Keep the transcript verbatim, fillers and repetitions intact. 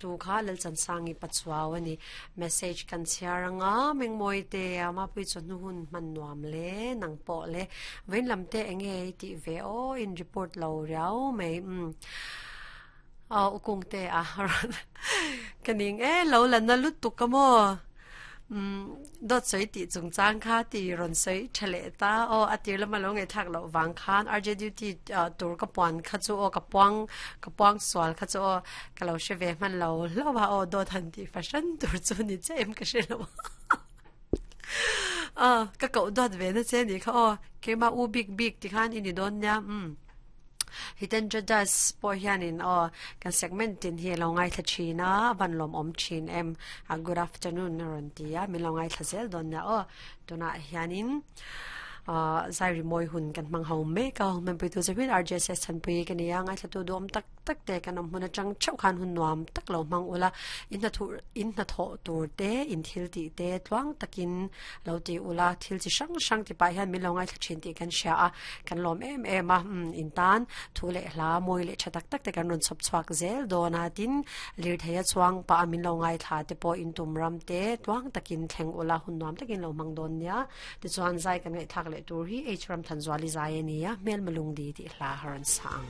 tu kha lal chan sangi pachuaw ani message kan chiaranga mengmoi te ama pui chu nu hun man nuam le nang po le vein lam te enge ti ve o in report lo riau mai um a ukung te a kaning e lo lan na lut tu kamo um dot soi ti chung chang kha ti ron soi thale ta o atir lama lo ngai thak lo wang khan R J duty tur ka pon kha chu o ka puang ka puang swal kha chu o ka lo she ve man lo lo wa o dot han ti fashion tur chu ni che em ka she lo a ka ko dot ve na che ni kha o ke ma u big big ti khan ini don nya um hiten jadas po hianin o kan segment tin hi lo ngai tha thina van lom om thin em a good afternoon ron tia mi lo ngai tha zel don na o tuna hianin a zai moi hun kan mang ho me ka men pui tu zewin R J S S chan pui kan ya ngai tha tu dom tak tak te kan om huna chang chau khan hun nuam tak lo mang ula in na thu in na tho tur te in thil ti te tluang takin lo ti ula thil chi sang sang ti pa hian mi lo ngai tha thin ti kan sha a kan lom em em a in tan thu le hla moi le thatak tak te kan ron chop chhuak zel dona tin lir theya chuang pa min lo ngai tha te po in tum ram te tluang takin thleng ula hun nuam takin lo mang don nia ti chuan zai kan ngai thak le tur hi H ram than zwali zai ania mel malung di ti hla haran sang.